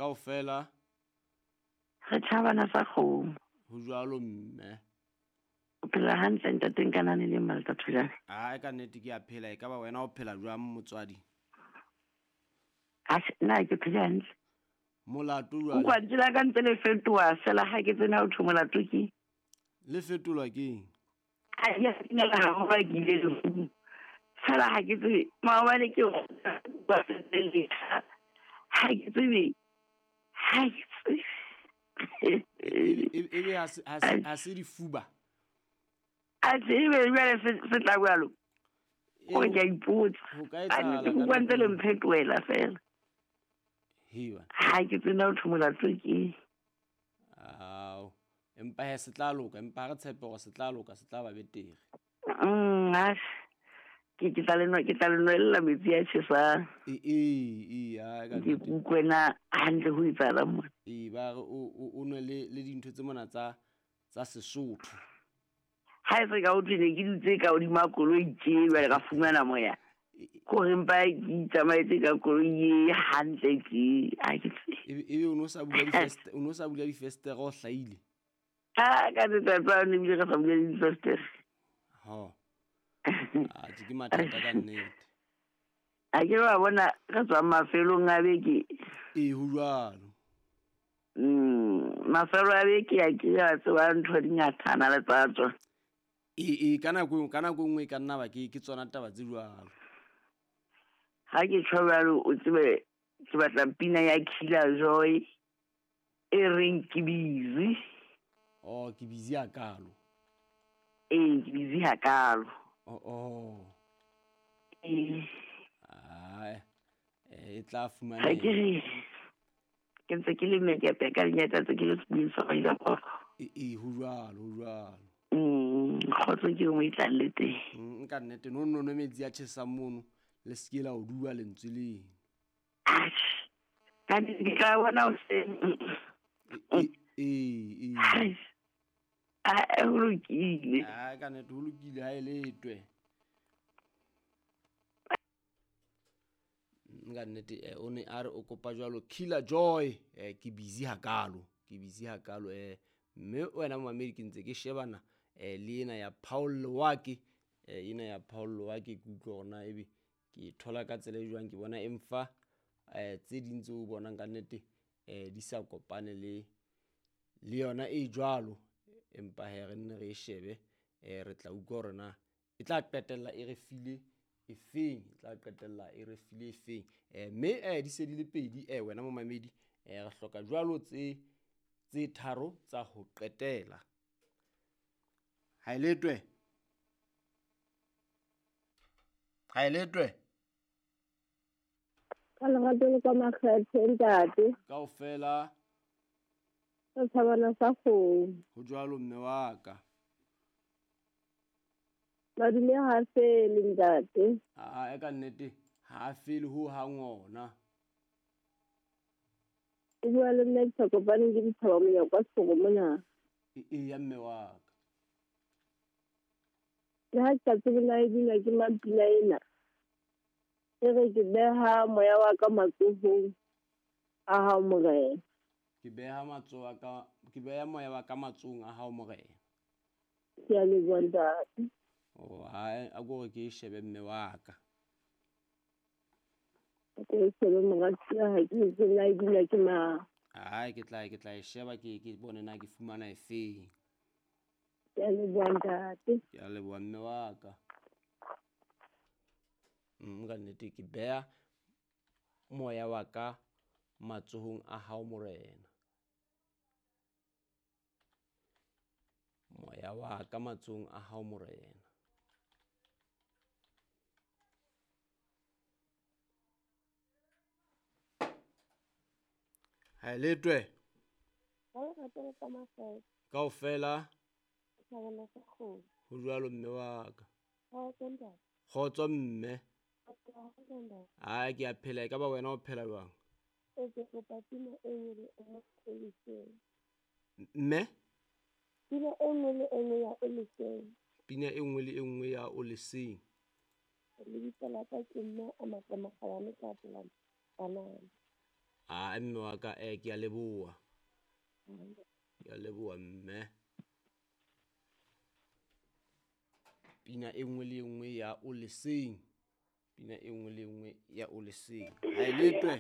Kaofela. Re tjhabana sa kgomo. Ho jwalo mme. O phela hantle ntate Nkanane le Malta Thulane? Ai ka nnete ke a phela, e ka ba wena o phela jwang motswadi? Atjhe, nna ke phele hantle. Molato jwale? Utlwa lentswe la ka ntse le fetoha fela ha ke tsena ho thwe molato ke. Le fetolwa keng? Ha ke a dumela haholo ha ke ile lefung. Fela ha ke tsebe maobane ke ha ke tsebe ha ke tsebe. Ebe ha se difuba? Atjhe, ebe jwale se tla jwalo. Hore ke a ipotsa. Ho ka etsahala Ke utlwa ntse le mphetohela fela. Hewa. Ha ke tsena ho thwe molato ke. Ao. Empa he se tla loka, empa ha re tshepe hore se tla loka, se tla ba betere. Ke tla le nwa, ke tla le nwella metsi a tjhesang. E, ha, ka Ke nnete. utlwe na hantle ho etsahalang mona. Ee, ba re o nwe le dintho tse mona tsa Sesotho. Ha e se ka ho thwe ne ke dutse ka hodima koloi tje, jwale ka fumana moya. Kore mpa ke itsamaetse ka koloi e hantle tje, ha ke tsebe. Ebe o no sa bula o no sa bula difestere o hlahile? Ha, ka letsatsi lane ebile re sa bula difestere. Ho. Atjhe, ke mathata ka nnete. Ha ke wa bona re tswa mafelong a beke. Ee, ho jwalo. Mafelo a beke a ke a tseba ntho di ngata na le tsa tsona. Ee, ka nako e, ka nako e nngwe e ka nna ba ke tsona taba tse jwalo. Ha ke tjho jwalo, o tsebe ke batla pina ya Killer Joy e reng ke busy. Oh, ke busy hakalo. Ee, ke busy hakalo. Oh, oh. Ee. Ai, e tla fumaneha. Ha ke re, ke ntse ke le mekepe ka lenyatsa tse ke le sebeng sa go ile go. Ee, ho jwalo, ho jwalo. Kgotso ke nngwe e tlang le teng. Nka nnete, no, no, no, metsi a tjhesang mono, le se ke la o dua lentswe leno. Atjhe, ka nnete ke tla bona hoseng. Ee. Ai, ai, ho lokile. Ai, ka nnete, ho lokile, ha e letwe. Nka nnete, o ne a re o kopa jwalo Killer Joy, ke busy hakalo, ke busy hakalo, mme wena momamedi ke ntse ke shebana, le ena ya Paul Lewake, ena ya Paul Lewake ke utlwa hore na ebe ke e thola ka tsela e jwang, ke bona emfa, tse ding tseo o bonang ka nnete, di sa kopane le yona e jwalo, empa he re nne re e shebe, re tla utlwa hore na e tla qetella e re file e feng, e tla qetella e re file e feng. Mme, di se di le pedi, wena momamedi, re hloka jwalo tse tharo tsa ho qetela. Ha e letwe? Ha e letwe? Ka lerato le ka makgethe, ntate. Kaofela. Ka tshabana sa kgomo. Ho jwalo mme wa ka. Madume ha fele, ntate. Aa, e ka nnete, ha a fele ho hang ona. O bua le nna ke sa kopane ke dithaba monyako wa Sefoko mona. E, ya mme wa ka. Le ha ke sa tsebe na e binwa ke mang pina ena. E re ke beha moya wa ka matsohong a hao, Morena. Ke beha matsoho a ka, ke beha moya wa ka matsohong a hao, Morena. Ke a leboha, ntate. Oh, hai, a ko re ke e shebe mme wa ka. Ke e shebe moratuwa, ha ke tsebe na e binwa ke mang. Hai, ke tla e sheba, ke bone na ke fumana e feng. Ke a leboha, ntate. Ke a leboha mme wa ka. Ka nnete ke beha moya wa ka matsohong a hao, Morena. Moya wa ka matsohong a hao, Morena. Ha e letwe? Kaofela. Ho jwalo mme wa ka. Kgotso mme. Ai, ke a phela, e ka ba wena o phela jwang? Mme? Pina e nngwe le e nngwe ya o leseng. Pina e nngwe le e nngwe ya o leseng. Lebitso la ka ke mme a Matle Makgabane ka pela banana. A mme wa ka, ke a leboha. Ke a leboha mme. Pina e nngwe le e nngwe ya o leseng. Pina e nngwe le e nngwe ya o leseng. Ha e letwe.